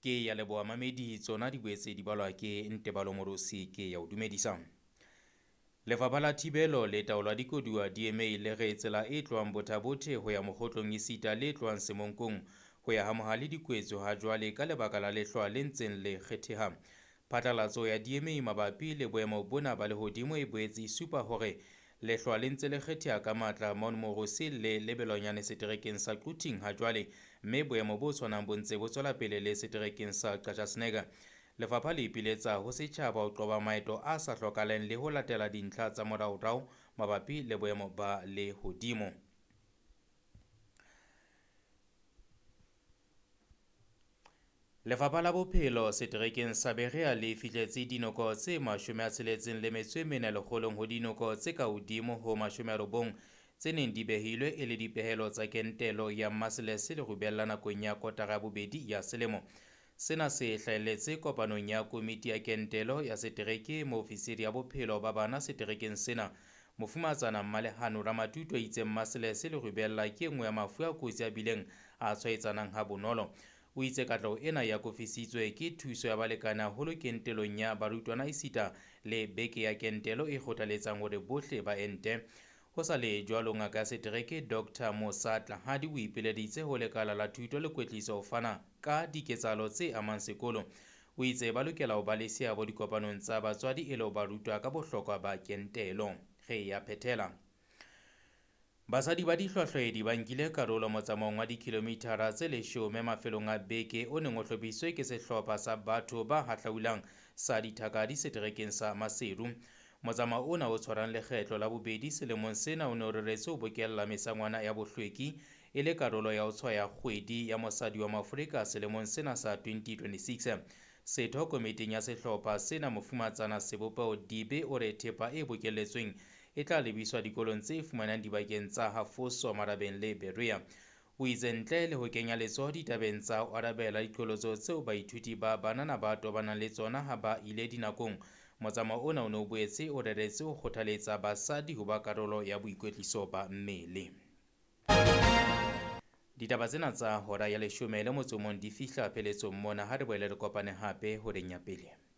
Ke ya leboha mamedi tsona di boetse di balwa ke Ntebalo Morosi ke ya o dumedisa. Lefapha la Thibelo le Taolo ya Dikoduwa DMA le re tsela e tlohang Botha-Bothe ho ya Mokgotlong esita le e tlohang Semonkong ho ya Hamohale di kwetswe ha jwale ka lebaka la lehlwa le ntseng le kgetheha. Phatlalatso ya DMA mabapi le boemo bona ba lehodimo e boetse e supa hore lehlwa le ntse le kgetheha ka matla Mount Moorosi le lebelonyane seterekeng sa Quthing ha jwale, mme boemo bo tshwanang bo ntse bo tswela pele le seterekeng sa Qacha's Nek. Lefapha le ipiletsa ho setjhaba ho qoba maeto a sa hlokahaleng le ho latela dintlha tsa moraorao mabapi le boemo ba lehodimo. Lefapha la Bophelo seterekeng sa Berea le fihletse dinoko tse 64 lekgolong ho dinoko tse ka hodimo ho 90 tse neng di behilwe e le dipehelo tsa kentelo ya maselese le rubella nakong ya kotara ya bobedi ya selemo. Sena se hlahelletse kopanong ya komiti ya kentelo ya setereke moo ofisiri ya bophelo ba bana seterekeng sena Mofumahatsana Mmalehano Ramatuto a itseng maselese le rubella ke e nngwe ya mafu a kotsi a bileng a tshwaetsanang ha bonolo. O itse katleho ena e akofisitswe ke thuso ya balekane haholo kentelong ya barutwana esita le beke ya kentelo e kgothaletsang hore bohle ba ente. Ho sa le jwalo, ngaka ya setereke Dr Musa Tlahadi o ipileditse ho lekala la thuto le kwetliso ho fana ka diketsahalo tse amang sekolo. O itse ba lokela ho ba le seabo dikopanong tsa batswadi e le ho ba rutwa ka bohlokwa ba kentelo. Re ya phethela. Basadi ba dihlwahlwaedi ba nkile karolo motsamaong wa dikilomithara tse 10 mafelong a beke o neng o hlophisitswe ke sehlopha sa batho ba hahlaulang sa dithakadi seterekeng sa Maseru. Motsamao ona o tshwarang lekgetlo la bobedi selemong sena o ne o reretswe ho bokella mesangwana ya bohlweki e le karolo ya ho tshwaya kgwedi ya mosadi wa Maafrika selemong sena sa 2026. Setho komiting ya sehlopha sena Mofumatsana Sebopeho Dibe o re thepa e bokelletsweng e tla lebiswa dikolong tse fumanang dibakeng tsa Hafoso, Marabeng le Berea. O itse ntle le ho kenya letsoho ditabeng tsa ho arabela diqholotso tseo baithuti ba banana ba tobanang le tsona ha ba ile dinakong, motsamao ona o ne o boetse o reretse ho kgothaletsa basadi ho ba karolo ya boikwetliso ba mmele. Ditaba tsena tsa hora ya 11 di fihla pheletsong mona. Ha re boele re kopane hape horeng ya pele.